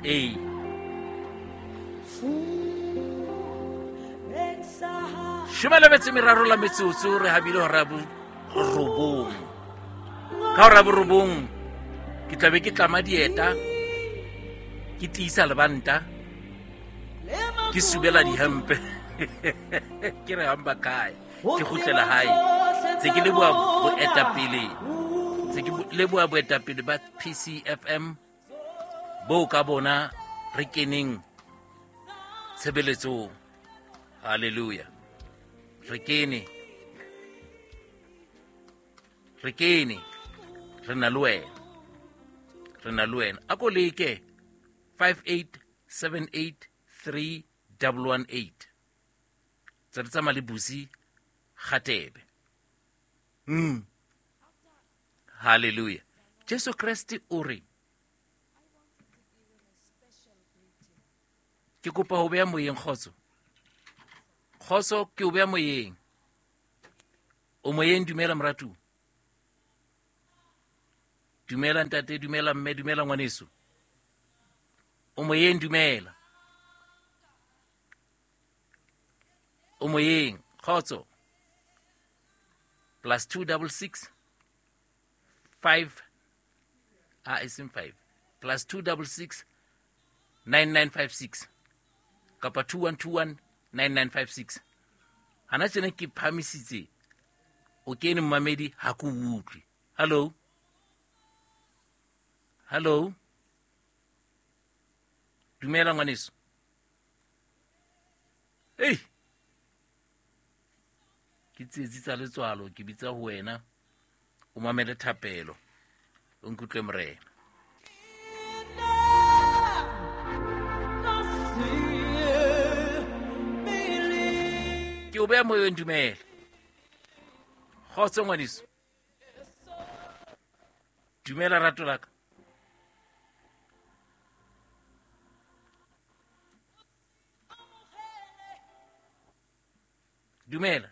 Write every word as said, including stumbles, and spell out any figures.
Ee. Shome le metso e meraro la metsotso re habile hora ya borobong. Ka hora ya borobong ke tla be ke tlama dieta, ke tiisa lebanta, ke subela dihempe. Ke re hamba kae, ke kgutlela hae. Tse ke leboha boetapele, tse ke leboha boetapele ba P C F M bo ka bona re keneng tshebeletsong. Hallelujah. Re kene, re kene, re na le wena, re na le wena. A ko leke five eight seven eight three double one eight. Tse re tsamaya le Busi Kgatebe. Mm. Hallelujah. Jesu Kreste o re, ke kopa ho beha moyeng kgotso. Kgotso ke o beha moyeng. O moyeng, dumela moratuwa. Dumela ntate, dumela mme, dumela ngwaneso. O moyeng, dumela. O moyeng, kgotso. Plus two double six five, ah, e seng five. Plus two double six nine nine five six. Kapa two one two one nine nine five six. Hana tjena ke phamisitse. O kene mmamedi ha ke utlwe. Hello. Hello. Dumela ngwaneso. Hey. Ke tsietsi tsa letswalo, ke bitsa ho wena. O mamele thapelo. O nkutlwe morena. Ke o beha moyeng, dumela. Kgotso ngwaneso. Dumela rato la ka. Dumela.